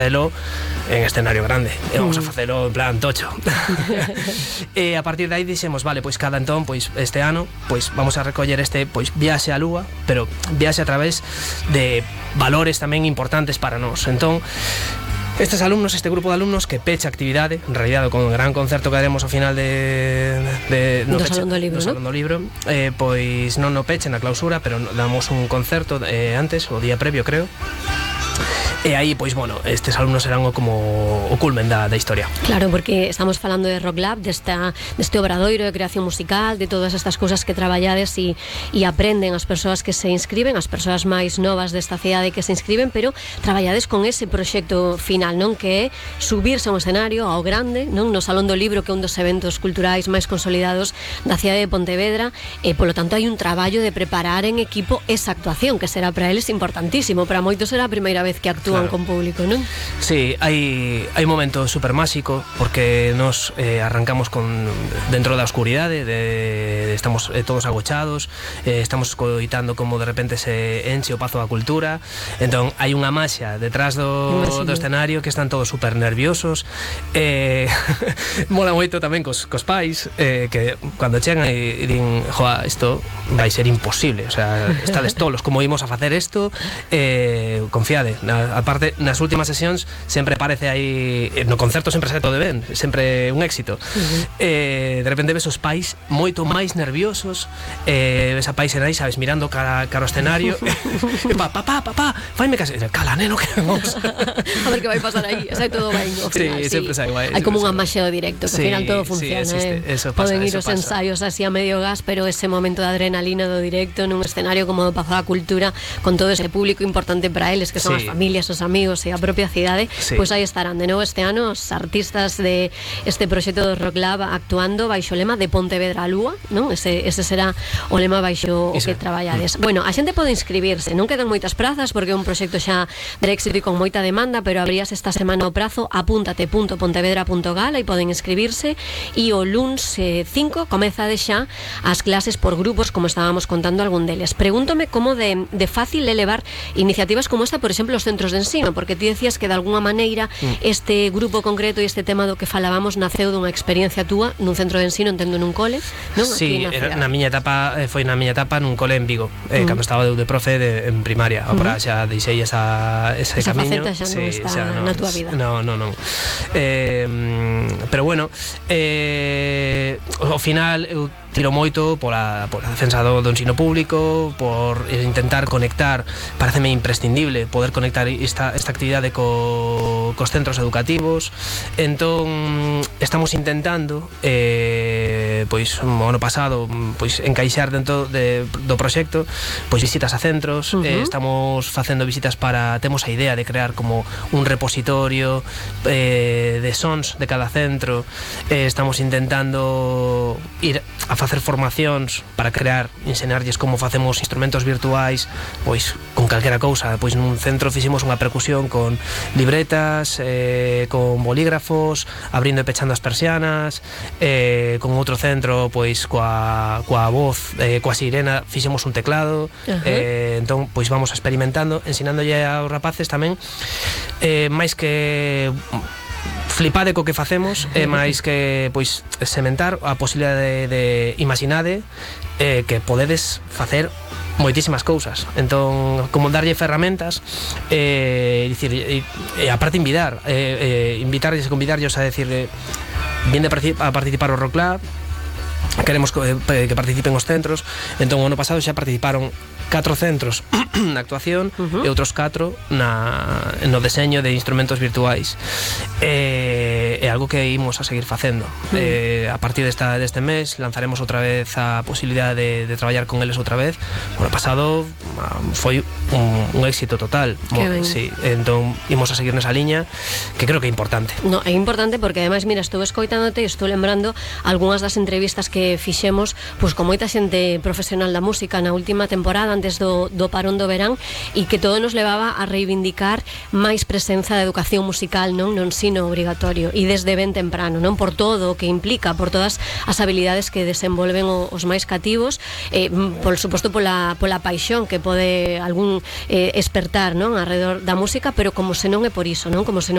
facelo en escenario grande, e vamos a facelo en plan tocho. E a partir de aí dixemos, vale, pois cada entón, pois este ano, pois vamos a recoller este, pois viaxe á Lúa, pero viaxe a través de valores tamén importantes para nós. Entón, estes alumnos, este grupo de alumnos que pecha actividade, en realidad con o gran concerto que haremos ao final do Salón do Libro, Salón do Libro, pois non no peche na clausura, pero damos un concerto antes, o día previo, creo. E aí, pois, bueno, estes alumnos serán como o culmen da historia. Claro, porque estamos falando de Rock Lab, deste obradoiro de creación musical, de todas estas cousas que traballades e aprenden as persoas que se inscriben, as persoas máis novas desta cidade que se inscriben, pero traballades con ese proxecto final, non? Que é subirse a un escenario ao grande, non? No Salón do Libro, que é un dos eventos culturais máis consolidados da cidade de Pontevedra, e polo tanto hai un traballo de preparar en equipo esa actuación, que será para eles importantísimo. Para moitos será a primeira vez que actúan, claro, con público, non? Sí, hai un momento super máxico, porque nos arrancamos dentro da oscuridade, estamos todos agochados, estamos escoitando como de repente se enche o Pazo da Cultura, entón hai unha maxia detrás do escenario, que están todos super nerviosos. Mola moito tamén cos pais, que cando chegan e din, joa, isto vai ser imposible, o sea, estades tolos, como ímos a facer isto, confiade. Aparte, nas últimas sesións sempre parece aí, no concerto sempre sai todo ben, sempre un éxito. De repente ves os pais moito máis nerviosos, ves a pais e nai, sabes, mirando cara ao escenario, papá, faime case, cala, neno, que vamos a ver que vai pasar aí, sai todo ben ao final. Sí, sempre sai guai. Hai como unha maxia do directo, que ao final todo funciona, poden ir os ensaios así a medio gas, pero ese momento de adrenalina do directo nun escenario como do Pazo da Cultura, con todo ese público importante para eles, que son as familias, os amigos e a propia cidade, pois aí estarán de novo este ano os artistas de este proxecto do Rock Lab actuando baixo o lema de Pontevedra á Lúa, non? Ese será o lema baixo o que traballades. Bueno, a xente pode inscribirse, non quedan moitas prazas porque é un proxecto xa de éxito e con moita demanda, pero abrías esta semana o prazo, apúntate.pontevedra.gal, aí poden inscribirse, e o luns 5 comeza de xa as clases por grupos, como estábamos contando algún deles. Pregúntome como de fácil é levar iniciativas como esta, por exemplo, os centros de ensino, porque ti decías que de alguna maneira este grupo concreto e este tema do que falábamos naceu dunha experiencia túa nun centro de ensino, entendo nun cole, non? Sí, na miña etapa foi na miña etapa nun cole en Vigo, cando estaba de primaria, en primaria, agora xa deixei ese camiño. Esa faceta xa non está na túa vida. Non. Pero bueno, ao final eu tiro moito pola defensa do ensino público, por intentar conectar, pareceme imprescindible poder conectar esta actividade cos centros educativos. Entón estamos intentando pois o ano pasado pois encaixar dentro do proxecto pois visitas a centros, estamos facendo visitas temos a idea de crear como un repositorio de sons de cada centro, estamos intentando ir a facer formacións para ensinarlles como facemos instrumentos virtuais, pois con calquera cousa. Pois nun centro fixemos unha percusión con libretas, con bolígrafos, abrindo e pechando as persianas, con outro centro pois coa voz, coa sirena fixemos un teclado. Entón pois vamos experimentando, ensinándolle aos rapaces tamén, máis que flipade co que facemos, é máis que pois sementar a posibilidade de imaginade que podedes facer moitísimas cousas. Entón, como darlle ferramentas, dicir, e aparte invitarlles a decir, vinde a participar ao Rock Lab, queremos que participen os centros. Entón, o ano pasado xa participaron 4 centros na actuación e outros 4 no deseño de instrumentos virtuais. É algo que imos a seguir facendo. A partir deste mes lanzaremos outra vez a posibilidade de traballar con eles outra vez. O ano pasado foi un éxito total. Sí, entón imos a seguir nesa liña, que creo que é importante. No, é importante porque ademais, mira, estou escoitándote e estou lembrando algunhas das entrevistas que fixemos pois con moita xente profesional da música na última temporada antes do parón do verán, e que todo nos levaba a reivindicar máis presenza da educación musical, non, no ensino obrigatorio, e desde ben temprano, non, por todo o que implica, por todas as habilidades que desenvolven os máis cativos, por suposto pola paixón que pode algún espertar, non, alrededor da música, pero como se non é por iso, non, como se non